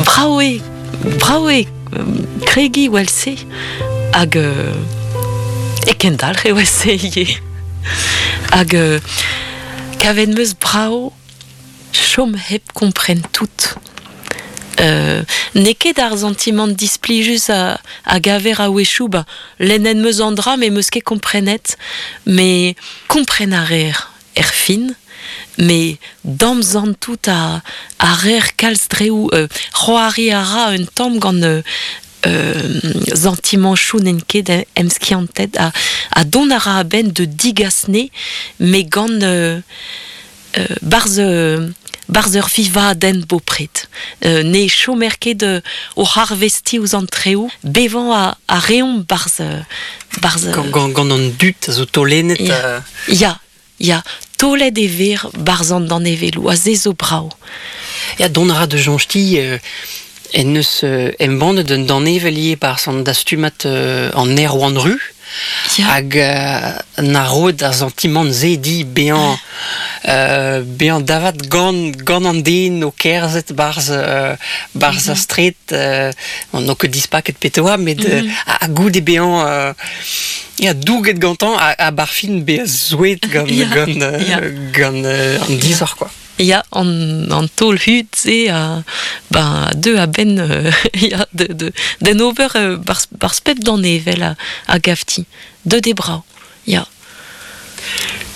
Brav eo, brav eo kregiñ evel-se hag e kendalc'h evel-se ivez. Hag kavet 'm eus brav chom hep kompren tout. N'eo ket ar santimant displijus a, a gaver a-wechoù, ba, lennet 'm eus an dra met 'm eus ket komprenet, met kompren a reer er fin, met damsantout a, a reer kalz dreoù, c'hoari a ra un tamm gant santimanchoù n'int ket emskiantet ha, ha dont a ra a-benn de digas 'ne, met gant barzh barzh ur vivadenn bopred. Ne chomer ket oc'h arvestiñ ouzh an treoù, bevañ a, a reomp barzh barzh Gant, gant an dud a zo taolennet. Ya, ya, ya, taolet e ver barzh an danevelloù, ha se zo brav. Ya, dont a ra da soñj-ti en deus embannet un danevell ivez barzh an dastumad an Erwan Ru. Hag na roet ar santimant-se di bezañ bezañ davat gant gant an den o kerzhet barzh barzh ar straed n'o ket dispaket petra met ha goude bezañ ya douget gantañ ha 'bar fin bezañ zouet gant gant gant an disoc'h quoi. Ya, an, an taol hud-se a ben, deu a-benn ya, de, de, d'en ober barzh, barzh pep danevell a, a gavti. Deut eo brav, ya.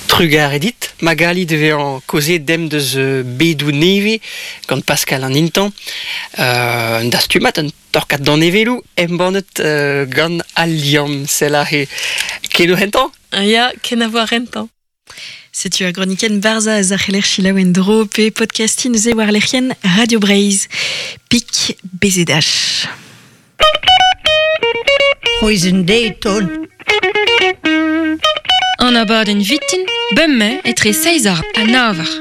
Trugarez dit, Magali, da vezañ kaozeet demp deus bedoù nevez gant Pascal an Intañ. Un dastumad, un torkad danevelloù embannet gant Al Liamm. Sell aze keno hentañ? Ya, kenavo ar rentañ. Setu ar gronikenn Barzhaz a c'heller selaou en-dro pe podcastiñ neuze war lec'hienn Radio Breizh. Pik BZH. C'hwezh Dayton. An abadenn vitin, bemdez etre seizh ha nav eur.